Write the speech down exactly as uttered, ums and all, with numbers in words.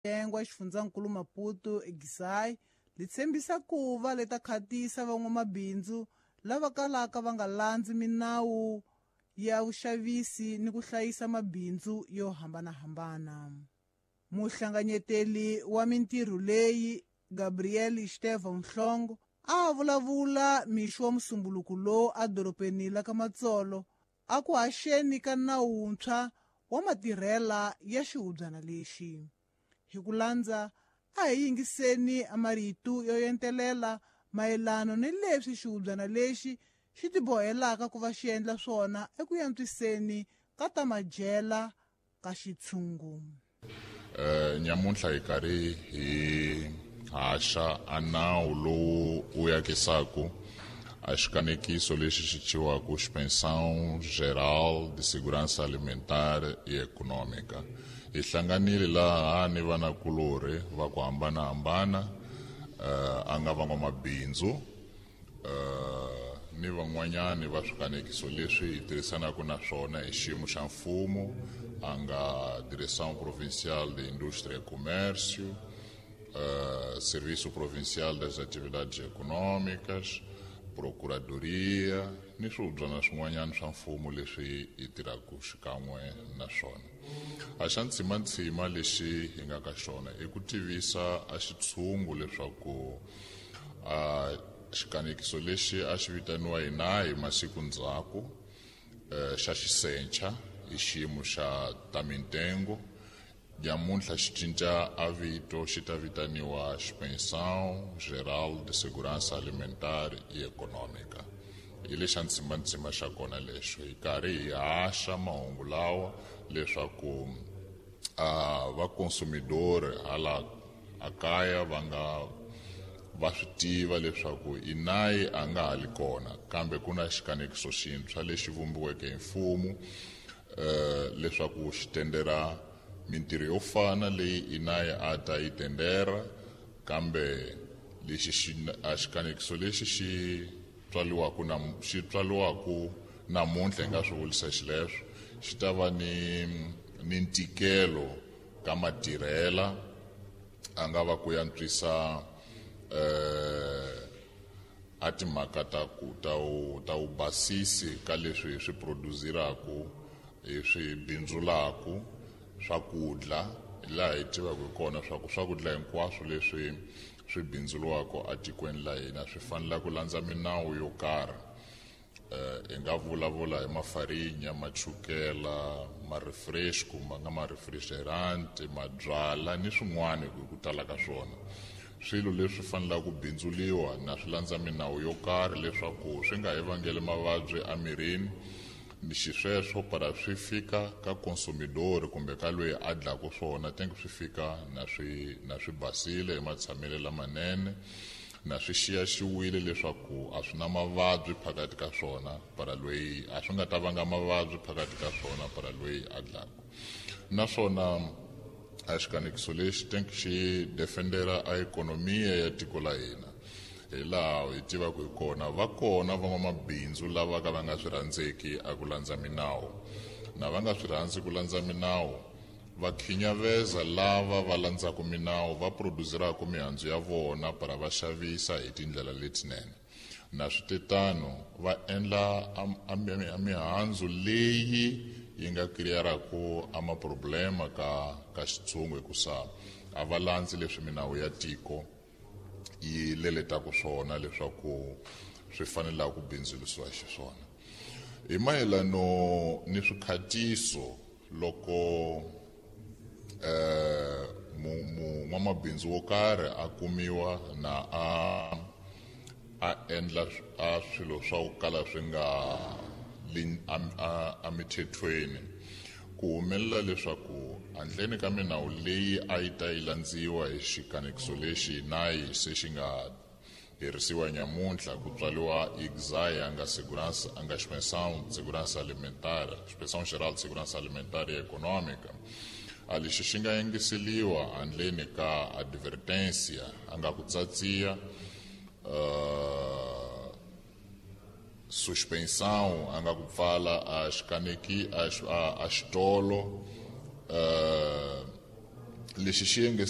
Tengwa xifundzankulu Maputo eGisai li tshembisa ku va leta khatisa van'wamabindzu lava kalaka va nga landzi minawu ya vuxavisi ni ku hlayisa mabindzu yo hambanahambana. Muhlanganyeteli wa mintirho leyi Gabriel Estevão Mhlongo a vulavula mixo wa musumbuluko lowu edorobeni la ka Matsolo a ku haxeni ka nawu wuntshwa wa matirhela ya xihubyana lexi. Hi ku landza a hi yingiseni marito yo entelela mayelana ni leswi xihubyana lexi xi tibohelaka ku va xi endla swona eku antswiseni ka ta madyela ka xitshungu. Eh nyamuntlha hi karhi hi haxa a nawu lowu wu yakisaku a xikanekiso lexi xi thyiwaku Inspeção Geral de Segurança Alimentar e Econômica. Hi hlanganile laha ni vanakulorhi va ku hambanahambana, uh, a nga van'wamabindzu, uh, ni van'wanyani va swikanekiso leswi hi tirhisanaka na swona hi xiyimo xa mfumo, a nga Direção Provincial de Indústria e Comércio, uh, Serviço Provincial das Atividades Econômicas, Procuradoria, ni swihubyana swin'wanyana swa mfumo leswi hi tirhaka xikan'we na swona. A xa ntsimantsima lexi hi nga ka xona i ku tivisa a xitshungu leswaku a xikanekiso lexi a xi vitaniwa hina hi masiku ndzhaku xa xisencha i xiyimo xa ta mintengo, nyamuntlha xi cinca a vito xi ta vitaniwa Inspeção Geral de Segurança Alimentar e Econômica. Hi lexa ntsimantsima xa kona lexo hi karhi hi haxa mahungu lawa leswaku a va consumidor hala a kaya va nga va swi tiva leswaku inayi a nga ha li kona, kambe ku na xikanekiso xintshwa lexi vumbiweke hi mfumo eh leswaku xi tendera mintirho yo fana leyi inayi a ta yi tendera, kambe lexi xi a xikanekiso lexi xi tswaliwaku na xi tswaliwaku namuntlha hi nga swi vurisa xileswo xi ta va ni ni ntikelo ka matirhela a nga va ku antswisa eh a timhaka ta ku ta u ta u basisi ka leswi hi swi produziraku hi swi bindzulaku swakudya, laha hi tivaka hi kona swa ku swakudya hinkwaswo leswi swi bindzuriwaka etikweni la hina swi fanele ku landza minawu yo karhi. Eh hi nga vulavula hi mafarinya, machukela, ma-refresco ma nga ma-refrigerant, mabyala ni swin'wana hi ku tala ka swona. Swilo leswi fanelaka ku bindzuliwa na swi landza minawu yo karhi leswaku swi nga hi vangeli mavabyi emirini, ni xisweswo para swi fika ka consumidor kumbe ka loyi a dlaku swona tenke swi fika na swi na swi basile hi matshamelo lamanene, na swi xiyaxiwile leswaku a swi na mavabyi phakathi ka swona para loyi a swi nga ta vanga mavabyi phakathi ka swona para loyi a dlaku. Naswona a xikanekiso lexi tenke xi defendera a ikhonomiya ya tiko la hina. Hi laha hi tivaka hi kona va kona van'wamabindzu lava ka va nga swi rhandzeki a ku landza minawu, na va nga swi rhandzi ku landza minawu va khinyaveza lava va landzaka minawu va produzeraka mihandzu ya vona para va xavisa hi tindlela letinene. Na switetano va endla a mihandzu leyi yi nga kiriyaraku a maproblema ka ka xitshungu hikusa a va landzi leswi minawu ya tiko yi leletaka swona leswaku swi fanelaka ku bindzurisiwa xiswona. Hi mayelano ni swikhatiso loko eh n'wamabindzu wo karhi a kumiwa na a a endla a swilo swa ku kala swi nga emithethweni, ku humelela leswaku handleni ka minawu leyi a yi ta yi landziwa hi xikanekiso lexi nayi se xi nga herisiwa nyamuntlha ku tswaliwa I G S A a nga segurança a nga Inspeção de Segurança Alimentar, Inspeção Geral de Segurança Alimentar e Econômica, a lexi xi nga yengiseliwa handleni ka advertência a nga ku tsatsiya uh, suspensão a nga ku pfala a xikaneki a a xitolo uh, Lexi xi yenge